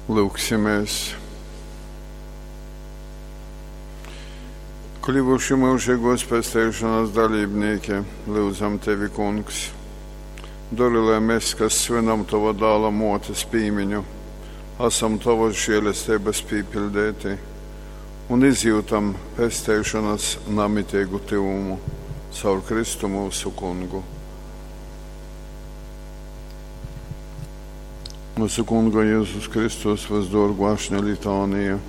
Lūgsimies! Kļuvuši mūžīgos pesteišanas dalībnieki, lūdzam tevi, Kungs. Dori, lai mēs, kas svinam tava dāla motes pīmiņu, esam tavas žēlestības pīpildēti un izjūtam pesteišanas namitīgu tyvumu caur Kristu mūsu kungu. Mūsu kunga Jēzus Kristus visdorgu ašņa litānija.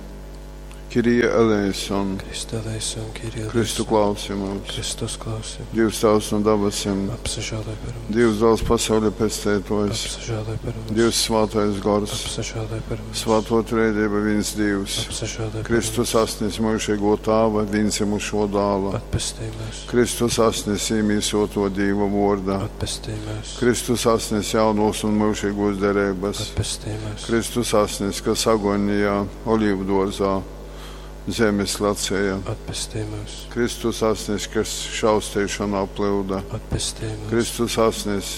Kirija eleison, Krista eleison, Kyrie Kristu eleison. klausi mūs. Kristus klausi. Dievs tavs no dabasim, Apsažēloj par mums. Dievs dāls pasauļa pestētojs, Apsažēloj par mums. Dievs svātais gors, Apsažēloj par mums. svāto trēdība viens Dievs, Apsažēloj par Kristus mums. asnis mūžīgo tāva, vienzimušo dāla, Atpestī mūs. Kristus asnis īmīsoto Dīva vorda, Atpestī mūs. Kristus asnis jaunos un mūžīgos derības, Atpestī mūs. Kristus asnis, kas agonijā, olīvdorzā, zemes lacēja, Atpestī mūs. Kristus asnis, kas šausteišanā plūda. Atpestī mūs. Kristus asnis,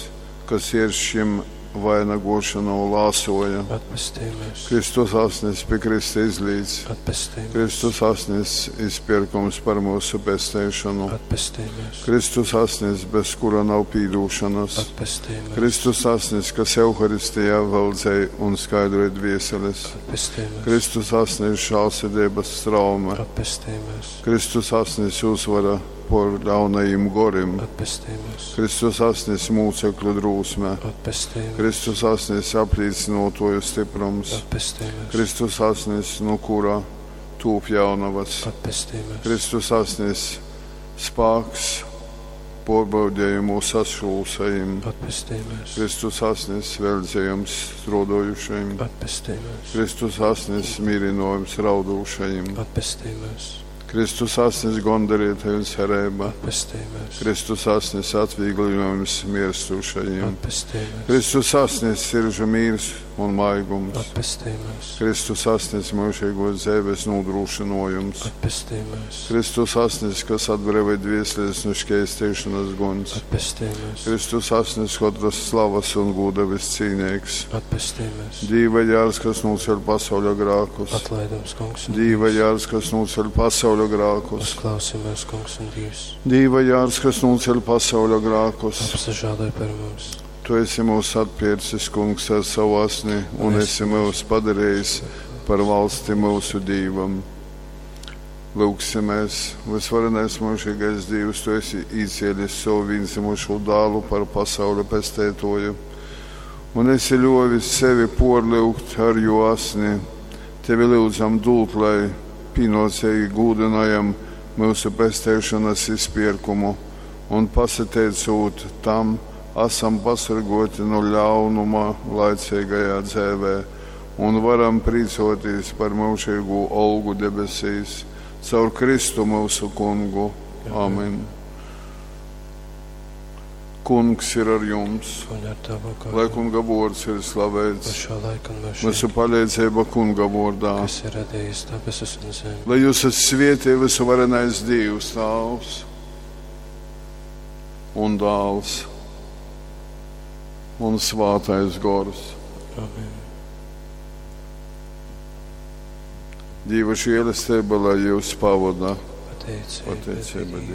kas ieršķim vainagošanu lāsoja. Atpestī mūs. Kristus asnis pie Krista izlīdz. Atpestī mūs. Kristus asnis izpirkums par mūsu pesteišanu. Atpestī mūs. Kristus asnis, bez kura nav pīdūšanas. Atpestī mūs. Kristus asnis, kas Euharistijā valdzēja un skaidroja dvieseles. Atpestī mūs. Kristus asnis žālsirdības traume. Atpestī mūs. Kristus asnis uzvara por ļaunajiem gorim. Atpestī mūs. Kristus asnis mūcekļu drūsme. Atpestī mūs. Kristus asnis apliecinotoju stiprums. Atpestī mūs. Kristus asnis, no kura tūp jaunavas. Atpestī mūs. Kristus asnis spāks porbaudējumu sašūsajiem. Atpestī mūs. Kristus asnis veldzējums strodojušajiem. Atpestī mūs. Kristus asnis mierinojums raudūšajiem. Atpestī mūs. Kristus asnis gondarītāju cerība. Atpestī mūs. Kristus asnis atvieglinājums mirstošajiem. Atpestī mūs. Kristus asnis siržu mīrs un maigums. Atpestī mūs. Kristus asnis mūžīgos dzīves nodrošinojums. Atpestī mūs. Kristus asnis, kas atbrīvoja dvieseles no šķēstīšanas guns. Atpestī mūs. Kristus asnis, katras slavas un gūda viscīnīgs. Atpestī mūs. Dīva jārs, kas noceļ pasauļa grākus. Atlaidums, kungs un Dīva Dievs. jārs, kas noceļ pasauļa grākus. Uzklausi mūs, kungs un Dievs. Dīva jārs, kas noceļ pasauļa grākus. Apsažēloj par mums. Tu esi mūs atpircis, kungs, ar savu asni un esi mūs padarījis par valsti mūsu Dīvam. Lūgsimies, visvarenais mūžīgais Dievs, tu esi īcēlis savu vienzimušo dālu par pasauļa pestētoju, un esi ļovis sevi porlūgt ar jo asni. Tevi lūdzam dūt, lai pienācīgi gūdinājam mūsu pestēšanas izpirkumu un pasateicot tam, esam pasargoti no ļaunuma laicīgajā dzēvē un varam prīcoties par mūžīgo olgu debesīs caur Kristu mūsu kungu. Amen. Kungs ir ar jums, Un ar tavu lai garu. kunga vārds ir Uz slavēts, šo laiku un mūžīgi, mūsu palīdzība kunga vārdā. kas ir radījis debesis un zemi. Lai jūs esat svētī visuvarenais Dievs, Tēvs un Dāls un Svātais Gors. Amen. Dieva žēlastība, lai jūs pavada. Pateicība Pateicība Dievam. Dievam.